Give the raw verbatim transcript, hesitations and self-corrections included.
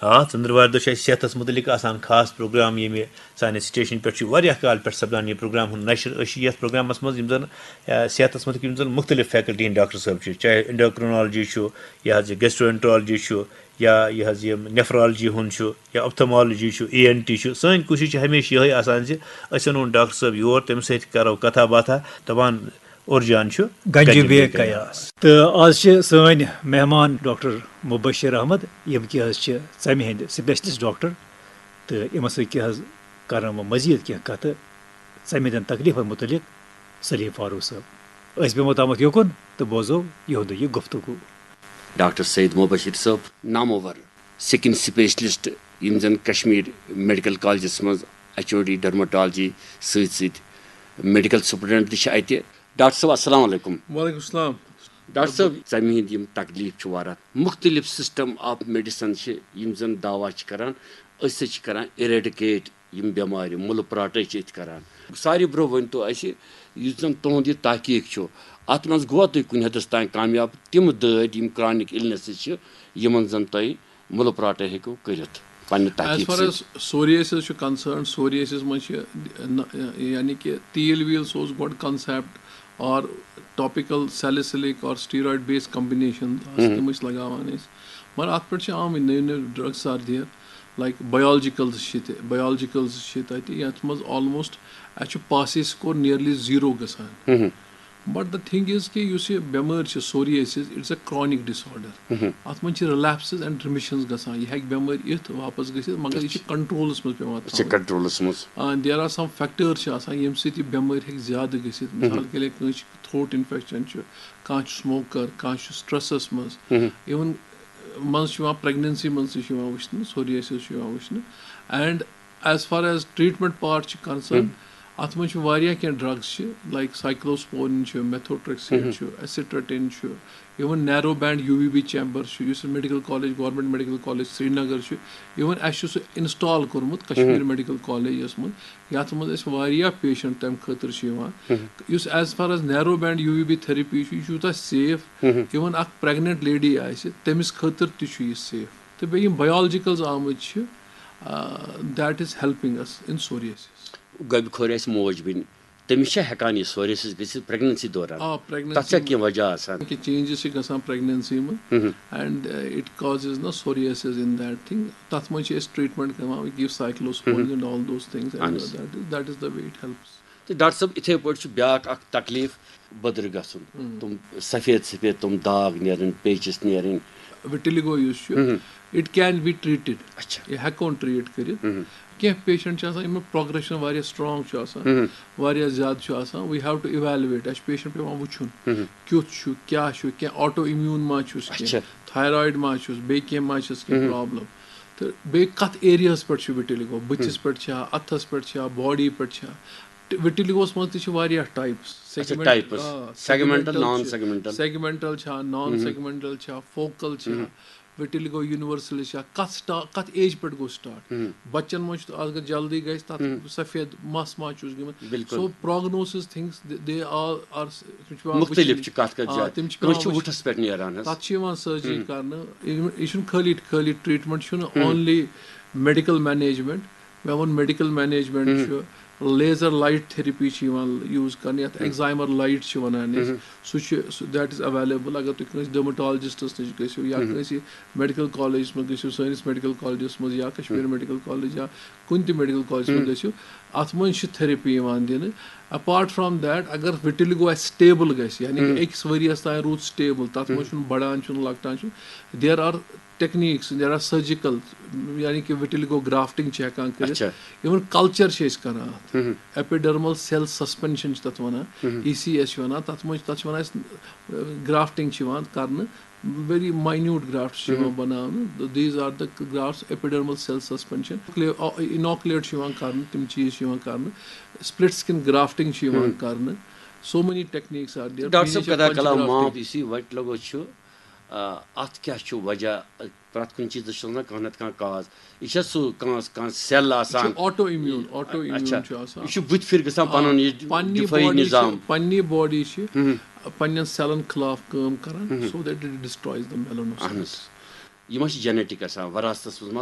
آ، ژٔنٛدٕروارِ دۄہ چھُ اَسہِ صحتَس مُتعلِق آسان خاص پروگرام، ییٚمہِ سانہِ سٹیشنہِ پٮ۪ٹھ چھُ واریاہ کال پٮ۪ٹھ سپدان یہِ پروگرام ہُنٛد نشر۔ أسۍ چھِ یَتھ پروگرامَس منٛز یِم زَن، آ، صحتَس مُتعلِق یِم زَن مُختٔلِف فیکلٹی ہٕنٛدۍ ڈاکٹر صٲب چھِ، چاہے endocrinology چھُ، یہِ حظ یہِ gastroenterology چھُ، یا یہِ حظ یہِ nephrology ہُنٛد چھُ، یا ophthalmology چھُ، E N T چھُ۔ سٲنۍ کوٗشِش چھِ ہمیشہِ یِہوٚے آسان زِ أسۍ اَنون ڈاکٹر صٲب یور، تٔمِس سۭتۍ کَرو کَتھا باتھا، دَپان اورجان چھُ گنجہِ گنجہِ بے بے قیاس۔ قیاس۔ تہٕ آز چھِ سٲنۍ مہمان ڈاکٹر مبشر احمد، یِم کہِ حظ چھِ ژَمہِ ہٕنٛدۍ specialist ڈاکٹر، تہٕ یِمن سۭتۍ کیٛاہ حظ کرن وۄنۍ مزید کینٛہہ کتھٕ ژَمہِ ہٕنٛدٮ۪ن تکلیفن متعلق سلیم فاروق صٲب۔ أسۍ بیٚہمو تامَتھ یوکُن تہٕ بوزو یِہُنٛدُے یہِ گفتگو۔ ڈاکٹر سید مبشر صٲب، نامور skin specialist، یِم زن کشمیر میڈیکل کالجس منٛز H O D dermatology سۭتۍ سۭتۍ میڈیکل سپرنٹنڈنٹ تہِ چھِ اتہِ۔ ڈاکٹر صٲب، السلام علیکم۔ وعلیکم السلام۔ ڈاکٹر صٲب، ژَمہِ ہٕنٛدۍ یِم تکلیٖف چھِ واریاہ، مُختٔلِف system of medicine چھِ یِم زَن دعوا چھِ کران، أسۍ ہسا چھِ کران eradicate یِم بٮ۪مارِ، مُلہٕ پراٹے چھِ أسۍ کران۔ ساروی برٛونٛہہ ؤنۍ تو اَسہِ، یُس زَن تُہُنٛد یہِ تحقیٖق چھُ، اَتھ منٛز گوٚوا تُہۍ کُنہِ حدس تام کامیاب؟ تِم دٲدۍ، یِم chronic illnesses چھِ، یِمن زَن تۄہہِ مُلہٕ پراٹے ہیٚکِو کٔرِتھ پننہِ As تحقیٖق far سۭتۍ؟ As psoriasis چھُ concerned، psoriasis منٛز چھِ، نہ، یعنی کہِ تیٖل ویٖل، سُہ اوس گۄڈٕ concept، or topical salicylic or steroid based combination آسہٕ، تِم ٲسۍ لگاوان أسۍ۔ مگر اَتھ پٮ۪ٹھ چھِ آمٕتۍ نٔوۍ نٔوۍ drugs are there، like biologicals چھِ تہِ، biologicals چھِ تَتہِ، یَتھ منٛز almost اَسہِ چھُ pus score nearly zero گژھان۔ But the thing is کہِ یُس یہِ بٮ۪مٲرۍ چھِ psoriasis، it's a chronic disorder۔ اَتھ منٛز چھِ relapses and remissions گژھان، یہِ ہیٚکہِ بٮ۪مٲرۍ یِتھ واپس گٔژھِتھ، مگر یہِ چھِ controlس منٛز پٮ۪وان یہِ چھِ تھاوٕنۍ۔ Controlس منٛز۔ آ، there are some factors چھِ آسان، ییٚمہِ سۭتۍ یہِ بٮ۪مٲرۍ ہیٚکہِ زیادٕ گٔژھِتھ۔ مثال کے لیے کٲنٛسہِ چھِ throat infection چھُ، کانٛہہ چھُ smoker، کانٛہہ چھُ stressس منٛز۔ Even منٛز چھُ یِوان، pregnancy منٛز تہِ چھُ یِوان وٕچھنہٕ، psoriasis چھُ یِوان وٕچھنہٕ۔ And as far as treatment part چھِ concerned، اَتھ منٛز چھِ واریاہ کینٛہہ drugs چھِ، like cyclosporin چھُ، methotrexate چھُ، acitretin چھُ، even narrow band U V B chamber چھُ، یُس medical college, government medical college Srinagar چھُ، even اَسہِ چھُ سُہ install کوٚرمُت کشمیر میڈیکل کالجس منٛز، یَتھ منٛز اَسہِ واریاہ patient تَمہِ خٲطرٕ چھِ یِوان۔ یُس as far as narrow band U V B therapy چھُ، یہِ چھُ یوٗتاہ safe، even اکھ pregnant lady آسہِ، تٔمِس خٲطرٕ تہِ چھُ یہِ safe۔ تہٕ بیٚیہِ یِم biologicals آمٕتۍ چھِ، آ، that is helping us in psoriasis۔ گۄبہِ خور آسہِ موج بیٚنہِ، تٔمِس چھا ہٮ۪کان یہِ psoriasis گٔژھِتھ pregnancy دوران؟ آ، pregnancy تَتھ چھا منٛز کینٛہہ وجہ آسان؟ کینٛہہ changes چھِ گژھان pregnancy منٛز، and, uh, it causes na psoriasis in that thing۔ تَتھ منٛز چھِ أسۍ treatment کران، we give cyclosporin and all those things، and اہن حظ۔ That is, that is the way it helps۔ تہٕ ڈاکٹر صٲب، یِتھَے پٲٹھۍ چھُ بیٛاکھ اکھ تکلیٖف، بٔدرٕ گژھُن۔ تِم سفید سفید تِم داغ نیرٕنۍ، پیچِس نیرٕنۍ۔ Vitiligo یُس چھُ، it can be treated۔ اچھا۔ یہِ ہٮ۪کون treat کٔرِتھ۔ کینٛہہ patient چھِ آسان، یِمن progression واریاہ strong چھُ آسان، واریاہ زیادٕ چھُ آسان، we have to evaluate، اَسہِ چھُ patient پٮ۪وان وٕچھُن، کیُتھ چھُ، کیٛاہ چھُ، کینٛہہ autoimmune ما چھُس کینٛہہ، اچھا۔ Thyroid ما چھُس، بیٚیہِ کینٛہہ ما چھِس کینٛہہ problem۔ تہٕ بیٚیہِ کَتھ areaہَس پٮ۪ٹھ چھُ vitiligo، بٕتھِس پٮ۪ٹھ چھا، اَتھَس پٮ۪ٹھ چھا، body پٮ۪ٹھ چھا؟ Vitiligoہَس منٛز تہِ چھِ واریاہ types۔ اچھا، segment-، types۔ آ، segmental، segmental non چھِ، segmental۔ Segmental چھا، non segmental چھا، focal چھا، vitiligo universalis چھا، کَتھ سٹا-، کَتھ age پٮ۪ٹھ گوٚو start؟ بَچَن منٛز چھُ، اگر جلدی گژھِ، تَتھ سفید مَس ما چھُس گٔمٕتۍ؟ بِلکُل۔ So prognosis things، they, they all are، تِم چھِ پٮ۪وان مُختٔلِف وٕچھِنۍ۔ چھِ کَتھ کَتھ آ، جایہِ۔ تِم چھِ کٲنٛسہِ پٮ۪وان چھُ وٕچھِنۍ۔ وُٹھَس پٮ۪ٹھ نیران حظ۔ تَتھ چھِ یِوان surgery کرنہٕ۔ یہِ، یہِ چھُنہٕ خٲلی، خٲلی treatment چھُنہٕ only medical management۔ مےٚ ووٚن medical management چھُ، laser light therapy چھِ یِوان use کرنہٕ، یَتھ excimer light چھِ وَنان أسۍ۔ سُہ چھُ، سُہ، that is available۔ اگر تُہۍ کٲنٛسہِ dermatologistس نِش گٔژھِو یا کٲنٛسہِ medical collegeس منٛز گٔژھِو، سٲنِس medical collegeس منٛز یا کشمیر medical college یا کُنہِ تہِ medical collegeس منٛز گٔژھِو، اَتھ منٛز چھِ therapy یِوان دِنہٕ۔ Apart from that، اگر vitiligo آسہِ stable گژھِ، یعنی کہِ أکِس ؤرِیَس تام روٗد stable، تَتھ منٛز چھُنہٕ بڑان، چھُنہٕ لۄکٹان چھُنہٕ۔ There are techniques، there are surgical، یعنی کہِ vitiligo grafting چھِ ہٮ۪کان کٔرِتھ۔ اچھا۔ Even culture چھِ أسۍ کران اَتھ۔ Epidermal cell suspension چھِ تَتھ وَنان، E C S چھِ وَنان، تَتھ منٛز، تَتھ چھِ وَنان أسۍ، grafting چھِ یِوان کرنہٕ، very minute grafts چھِ یِوان بَناونہٕ۔ These are the grafts، epidermal cell suspension، inoculate چھِ یِوان کرنہٕ، تِم چیٖز چھِ یِوان کرنہٕ، split skin grafting چھِ یِوان کرنہٕ۔ So many techniques are there۔ Doctor صٲب، خدا کلا معاف، یُس یہِ vitiligo چھُ، آ، اَتھ کیٛاہ چھُ وجہ؟ پرٛٮ۪تھ کُنہِ چیٖزَس چھُ آسان کانٛہہ نَتہٕ کانٛہہ cause۔ یہِ چھا سُہ کانٛہہ، کانٛہہ cell یہِ چھُ آسان؟ Autoimmune، autoimmune اچھا۔ چھُ آسان۔ یہِ چھُ بٕتھِ پھِرِ گژھان آ، پَنُن یہِ پننی دِفٲعی body چھِ، نظام۔ پننی body چھِ پننٮ۪ن cellن خلاف کٲم کران، so that it destroys the melanocytes۔ اہن حظ۔ یہِ ما چھِ genetic آسان، وراثتس منٛز ما